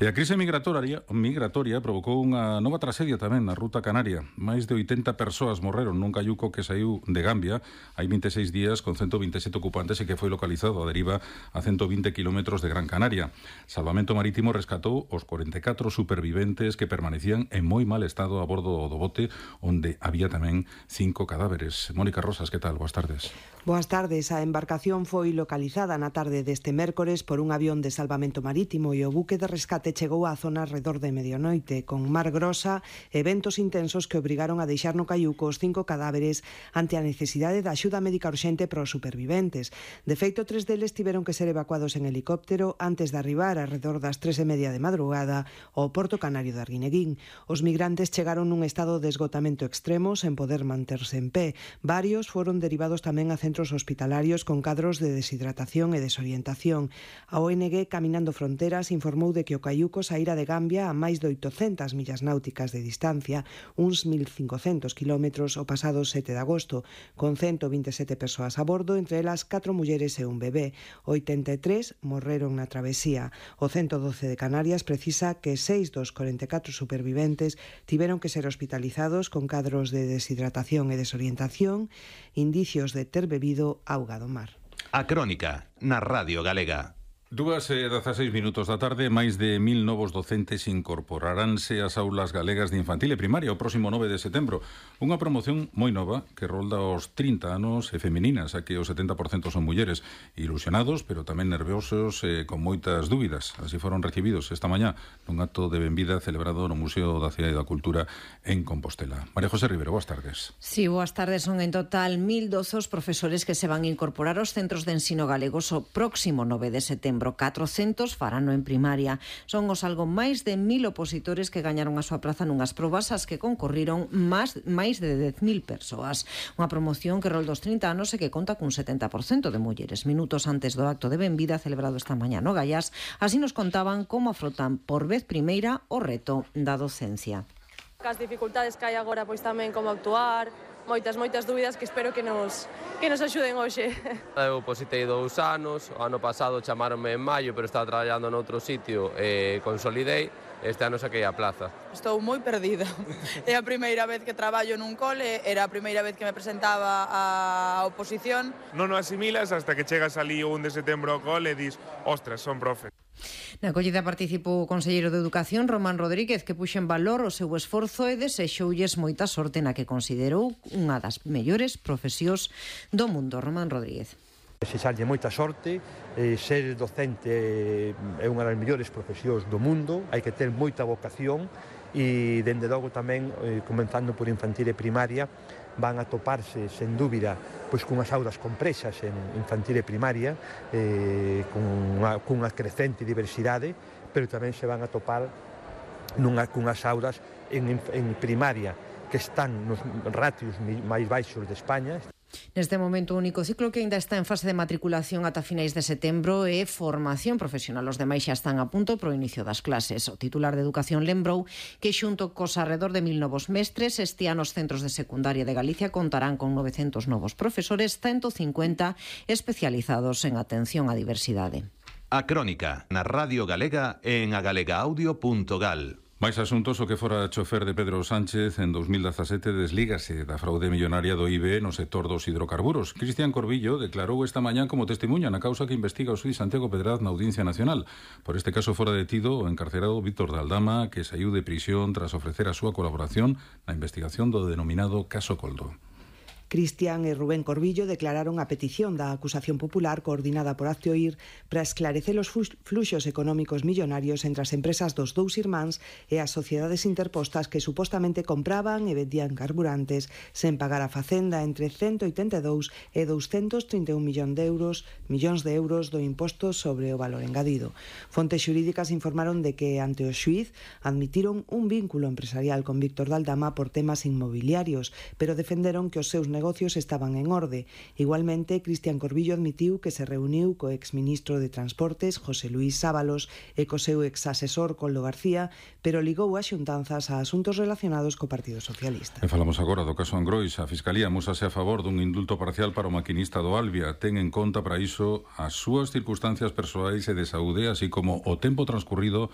E a crise migratoria provocou unha nova traxedia tamén na ruta canaria. Máis de 80 persoas morreron nun caiuco que saiu de Gambia hai 26 días con 127 ocupantes e que foi localizado a deriva a 120 kilómetros de Gran Canaria. Salvamento Marítimo rescatou os 44 superviventes que permanecían en moi mal estado a bordo do bote, onde había tamén 5 cadáveres. Mónica Rosas, que tal? Boas tardes. Boas tardes. A embarcación foi localizada na tarde deste mércores por un avión de salvamento marítimo e o buque de rescate chegou á zona alrededor de medianoite, con mar grosa e ventos intensos que obrigaron a deixar no caiuco os 5 cadáveres ante a necesidade de axuda médica urxente para os superviventes. De feito, 3 deles tiveron que ser evacuados en helicóptero antes de arribar alrededor das 3:30 de madrugada ao porto canario de Arguineguín. Os migrantes chegaron nun estado de esgotamento extremo sen poder manterse en pé. Varios foron derivados tamén a centros hospitalarios con cadros de deshidratación e desorientación. A ONG Caminando Fronteras informou de que o caiuco saíra de Gambia a máis de 800 millas náuticas de distancia, uns 1.500 kilómetros, o pasado 7 de agosto, con 127 persoas a bordo, entre elas 4 mulleres e un bebé. 83 morreron na travesía. O 112 de Canarias precisa que 6 dos 44 superviventes tiveron que ser hospitalizados con cadros de deshidratación e desorientación, indicios de ter bebido auga do mar. A Crónica, na Radio Galega. 2:16 da tarde, máis de 1000 novos docentes incorporaránse ás aulas galegas de infantil e primaria o próximo 9 de setembro. Unha promoción moi nova que rolda os 30 anos e femininas, a que o 70% son mulleres, ilusionados, pero tamén nerviosos e con moitas dúbidas. Así foron recibidos esta mañá nun acto de benvida celebrado no Museo da Cidade e da Cultura en Compostela. María José Rivero, boas tardes. Sí, boas tardes. Son en total 1012 os profesores que se van a incorporar aos centros de ensino galegos o próximo 9 de setembro. 400 farano en primaria. Son os algo máis de 1000 opositores que gañaron a súa praza nunhas probas ás que concorriron máis de 10.000 persoas. Unha promoción que rolda os 30 anos e que conta cun 70% de mulleres. Minutos antes do acto de benvida celebrado esta mañá no Gaiás, así nos contaban como afrontan por vez primeira o reto da docencia. As dificultades que hai agora, pois tamén como actuar, moitas dúbidas que espero que nos axuden hoxe. Eu positei 2 anos, o ano pasado chamaronme en maio, pero estaba traballando noutro sitio e consolidei. Este ano saquei a plaza. Estou moi perdida. É a primeira vez que traballo nun cole, era a primeira vez que me presentaba a oposición. Non o asimilas hasta que chegas ali o 1 de setembro ao cole e dis, ostras, son profe. Na acollida participou o conselleiro de Educación, Román Rodríguez, que puxo en valor o seu esforzo e desexoulles moita sorte na que considerou unha das mellores profesións do mundo. Román Rodríguez. Desexarlle moita sorte, ser docente é unha das mellores profesións do mundo, hai que ter moita vocación e, dende logo tamén, comenzando por infantil e primaria, van a toparse, sen dúbida, pois cunhas aulas comprexas en infantil e primaria, cunha crecente diversidade, pero tamén se van a topar cunhas aulas en primaria que están nos ratios máis baixos de España. Neste momento, o único ciclo que ainda está en fase de matriculación ata finais de setembro é formación profesional. Os demais xa están a punto para o inicio das clases. O titular de Educación lembrou que xunto cos arredor de 1000 novos mestres, este ano os centros de secundaria de Galicia contarán con 900 novos profesores, 150 especializados en atención á diversidade. A Crónica, na Radio Galega e en agalegaaudio.gal. Mais asuntos, o que fora chofer de Pedro Sánchez en 2017 deslígase da fraude millonaria do IBE no sector dos hidrocarburos. Cristian Corbillo declarou esta mañá como testemunha na causa que investiga o xuíz Santiago Pedraz na Audiencia Nacional. Por este caso fora detido o encarcerado Víctor de Aldama, que saiu de prisión tras ofrecer a súa colaboración na investigación do denominado caso Coldo. Cristian e Rubén Corbillo declararon a petición da acusación popular coordinada por Aztioir para esclarecer os fluxos económicos millonarios entre as empresas dos dous irmáns e as sociedades interpostas que supostamente compraban e vendían carburantes sen pagar a Facenda entre 182 e 231 millóns de euros do imposto sobre o valor engadido. Fontes xurídicas informaron de que ante o xuíz admitiron un vínculo empresarial con Víctor de Aldama por temas inmobiliarios, pero defenderon que os seus negocios estaban en orde. Igualmente, Cristian Corbillo admitiu que se reuniu co exministro de Transportes, José Luís Sábalos, e co seu exasesor, Coldo García, pero ligou as xuntanzas a asuntos relacionados co Partido Socialista. E falamos agora do caso Angrois. A Fiscalía amosase a favor dun indulto parcial para o maquinista do Albia. Ten en conta para iso as súas circunstancias persoais e de saúde, así como o tempo transcurrido